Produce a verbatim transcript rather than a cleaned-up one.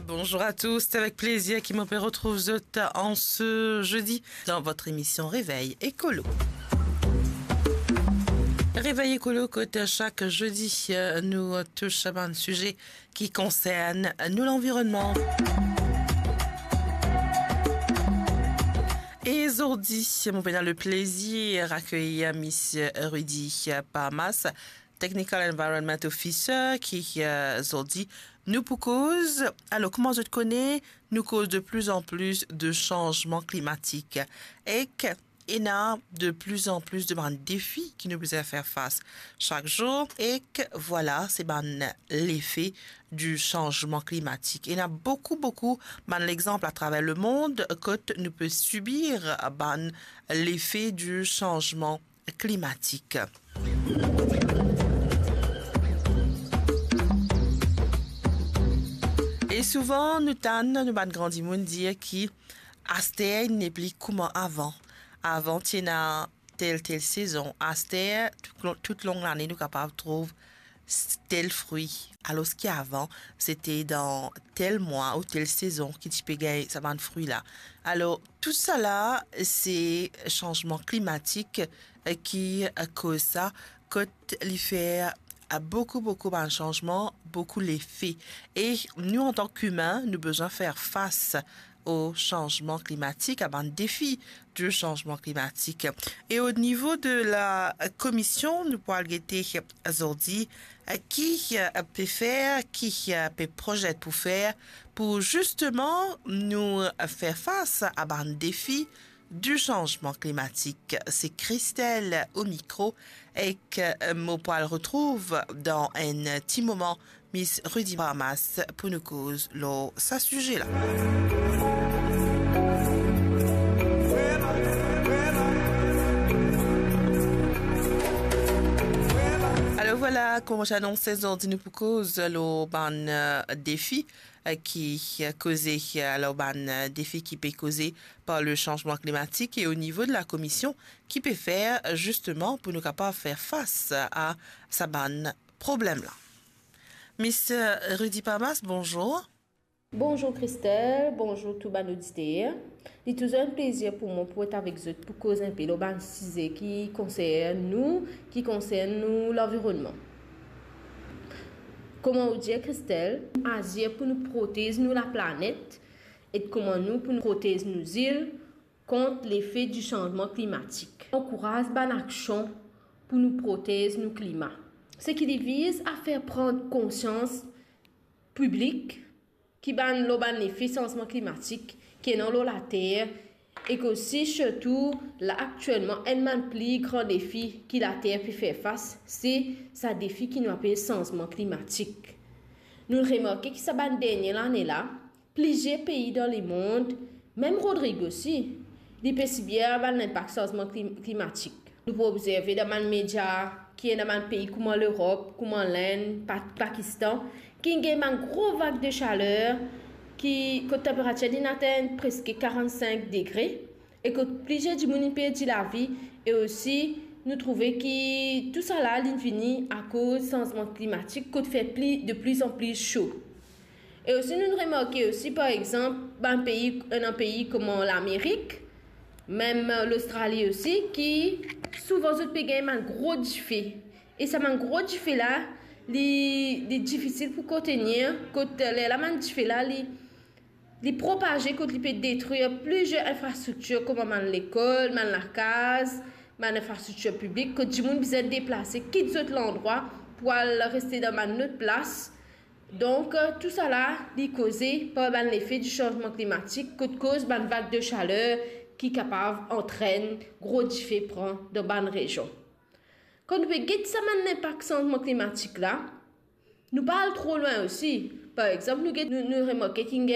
Bonjour à tous, c'est avec plaisir ki mo pe retrouv zot en ce jeudi dans votre émission Réveil Écolo. Réveil Écolo, kot chak jeudi, euh, nou tous bann size ki konsern nou lanvironnman. E zordi, mo pena le plezir akeyir Misie Rudy Parmas, Technical Environment Officer, ki, euh, zordi nou pou koz. Alor, kouma zot kone, nou koz de plus en plus de chanzman klimatik. Ek ena de plus en plus de bann defi ki nou bizin fer fas chak zour. Ek vwala, se bann lefe di chanzman klimatik. Ena boukou, boukou bann lexanp atraver lemond kot nou pe sibir bann lefe di chanzman klimatik. E souvan, nou tann nou bann gran dimoun dir ki aster nepli kouma avan. Avan, ti ena tel, tel sezon. Aster, tout lo-, tout long lane, nou kapav trouv s-, tel fri. Alor ki avan, sete dan tel mwa ou tel sezon ki ti pe gagn sa bann fri la. Alor, tou sala, se chanzman klimatik, eh, ki, eh, koz sa, kot li fer, eh, boukou, boukou bann chanzman, boukou lefe. E nou, antan kiimin, nou bizin fer fas o chanzman klimatik, a bann defi di chanzman klimatik. E o nivo de la komision, nou pou al gete zordi ki pe fer, ki pe prozet pou fer, pou zisteman nou fer fas a bann defi di chanzman klimatik. Se Christelle o mikro, ek mo pou al retrouv dan enn ti moman Miss Rudy Parmas pou nou koz lor sa size la. Alor vwala, kouma mo ti anonse, zordi nou pou koz lor bann, eh, defi, eh, ki, eh, koze, eh, lor bann, eh, defi ki pe koze par le chanzman klimatik e o nivo de la komision ki pe fer, eh, zisteman pou nou kapav fer fas a sa bann problem la. Mister Rudy Parmas, bonzour. Bonzour Christelle, bonzour tou bann oditer. Li touzour enn plezir pou mwa pou et avek zot pou koz enpe lor bann size ki konsern nou, ki konsern nou lanvironnman. Kouma ou dir Christelle, azir pou nou protez nou laplanet, e kouma nou pou nou protez nou zil kont lefe di chanzman klimatik. Ankouraz bann aksion pou nou protez nou klima. Seki li viz a fer pran konsians piblik ki bann, lor bann lefe chanzman klimatik ki ena lor later, ek osi sirtou la aktielman enn bann pli gran defi ki later pe fer fas, se sa defi ki nou apel chanzman klimatik. Nou remarke ki sa bann dernie lane la, plizier pei dan lemond, mem Rodrig osi, li pe sibir bann linpak chanzman klim-, klimatik. Nou pou obzerve dan bann media ki ena bann pei kouma Lerop, kouma Lind, Pa-, Pakistan, ki gagn bann gro vag de saler, ki, kot tenperatir li atenn preske karant-sink degre, e kot plizier dimoun inn perdi lavi, e osi nou trouve ki tou sala li vini akoz chanzman klimatik, kot fer pli, de pli an pli so. E osi, nou remarke osi, par exanp, bann pei, ena pei kouma Lamerik, mem Lostrali osi, ki souvan zot pe gagn bann gro dife. E sa bann gro dife la, li, li difisil pou kontenir, kot lerla bann dife la, li, li propaze, kot li pe detrir plizier infrastriktir, kouma bann lekol, bann lakaz, bann infrastriktir piblik, kot dimoun bizin deplase, kit zot landrwa pou al reste dan bann lot plas. Donk, tou sala, li koze par bann lefe di chanzman klimatik, kot koz bann vag de saler ki kapav antrenn gro dife pran dan bann rezion. Kan nou pe get sa bann linpak chanzman klimatik la, nou pa al tro lwin osi. Par exanp, nou get, nou, nou remarke ki gagn